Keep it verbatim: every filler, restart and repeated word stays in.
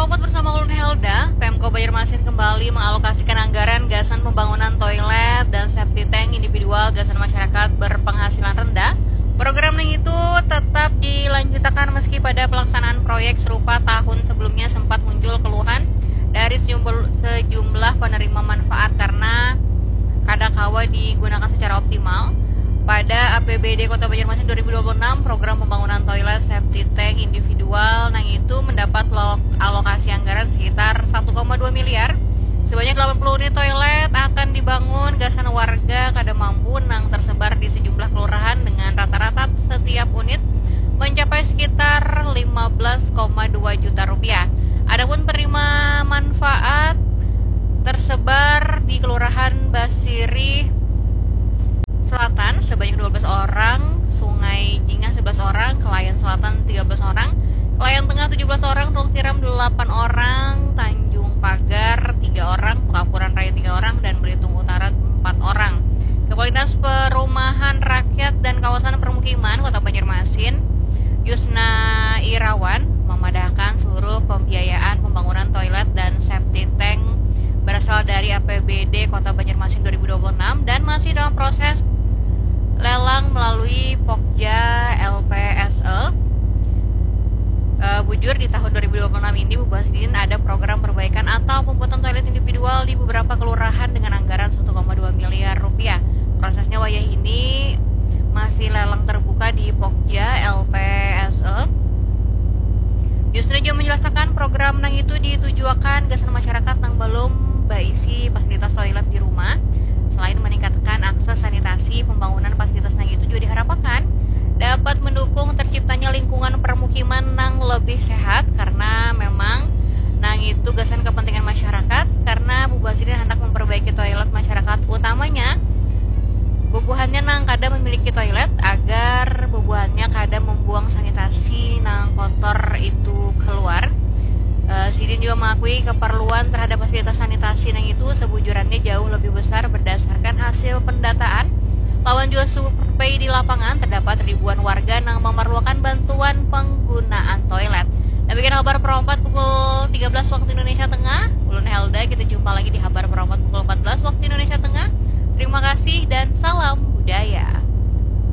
Selamat bersama ulun Helda, Pemko Banjarmasin kembali mengalokasikan anggaran gasan pembangunan toilet dan septic tank individual gasan masyarakat berpenghasilan rendah. Program yang itu tetap dilanjutakan meski pada pelaksanaan proyek serupa tahun sebelumnya sempat muncul keluhan dari sejumlah, sejumlah penerima manfaat karena kada kawa digunakan secara optimal. Pada A P B D Kota Banjarmasin dua ribu dua puluh enam, program pembangunan toilet septic tank individual nang itu mendapat alokasi anggaran sekitar satu koma dua miliar. Sebanyak delapan puluh unit toilet akan dibangun gasan warga kada mampu nang tersebar di sejumlah kelurahan dengan rata-rata setiap unit mencapai sekitar lima belas koma dua juta rupiah. Adapun penerima manfaat tersebar di Kelurahan Basirih Selatan sebanyak dua belas orang, Sungai Jingah sebelas orang, Kelayan Selatan tiga belas orang, Kelayan Tengah tujuh belas orang, Teluk Tiram delapan orang, Tanjung Pagar tiga orang, Pekampuran Raya tiga orang, dan Belitung Utara empat orang. Komunitas Perumahan Rakyat dan Kawasan Permukiman Kota Banjarmasin, Yusna Irawan, memadahkan seluruh pembiayaan pembangunan toilet dan septic tank berasal dari A P B D Kota Banjarmasin dua ribu dua puluh enam dan masih dalam proses lelang melalui Pokja L P S E. Eh, bujur, di tahun dua ribu dua puluh enam ini, Bubasidin ada program perbaikan atau pembuatan toilet individual di beberapa kelurahan dengan anggaran satu koma dua miliar rupiah. Prosesnya wayah ini masih lelang terbuka di Pokja L P S E. Yusna juga menjelaskan program nang itu ditujuakan gasan masyarakat nang belum baisi fasilitas toilet di rumah. Selain meningkatkan akses sanitasi, pembangunan fasilitas nang itu juga diharapakan dapat mendukung terciptanya lingkungan permukiman nang lebih sehat karena memang nang itu gasan kepentingan masyarakat karena bubuhan sidin hendak memperbaiki toilet masyarakat utamanya bubuhannya nang kada memiliki toilet agar bubuhannya kada membuang sanitasi nang kotor itu keluar. Eh, sidin juga mengakui keperluan terhadap fasilitas sanitasi nang itu sebujurannya jauh lebih besar berdasarkan hasil pendataan lawan juga survei di lapangan terdapat ribuan warga nang memerlukan bantuan penggunaan toilet. Demikian kabar perompat pukul tiga belas waktu Indonesia Tengah. Ulun Helda, kita jumpa lagi di kabar perompat pukul empat belas waktu Indonesia Tengah. Terima kasih dan salam budaya.